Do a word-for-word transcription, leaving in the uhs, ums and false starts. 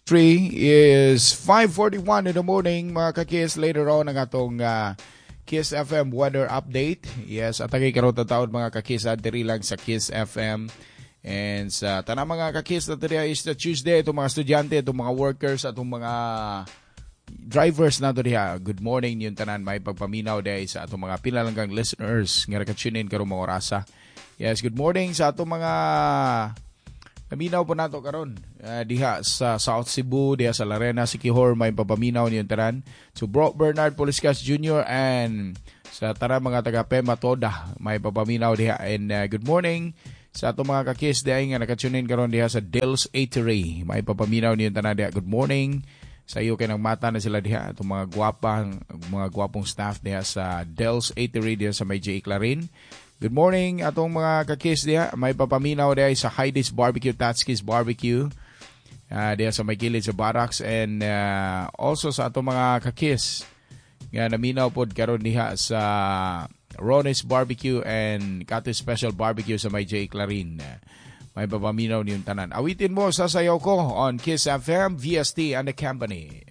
Three is five forty-one in the morning, mga kakis. Later on ang atong uh, Kiss F M weather update. Yes, at tagay karon taon, mga kakis, diri lang sa Kiss F M. And sa tanang mga kakis na diri is the Tuesday, itong mga estudyante, itong mga workers, atong mga drivers nato diha. Good morning yung tanan, may pagpaminaw diha sa atong mga pinalanggang listeners nga naka-tune in karong mga orasa. Yes, good morning sa atong mga naminaw po nato karon uh, diha sa South Cebu, diha sa Larena, Siquijor, may papaminaw niyong tanan. So Bro Bernard Poliscas Junior and sa tanan mga taga Pema Toda, may papaminaw diha and uh, good morning sa atong mga kakis diha nga naka-tune in karon diha sa Dale's Eatery. May papaminaw niyong tanan diha. Good morning sa iyo kay mata na sila diha, atong mga gwapang mga gwapong staff diha sa Dale's Eatery diha sa may J. Clarin. Good morning atong mga kakis diha. May papaminaw diha sa Heidi's Barbecue, Tatskis Barbecue. Uh, diha sa may kilid sa Barracks and uh, also sa atong mga kakis nga naminaw pod karon diha sa Ronnie's Barbecue and Kati Special Barbecue sa may J. Clarin. May papaminaw niyong tanan. Awitin mo sa sayaw ko on Kiss F M, V S T and the Company.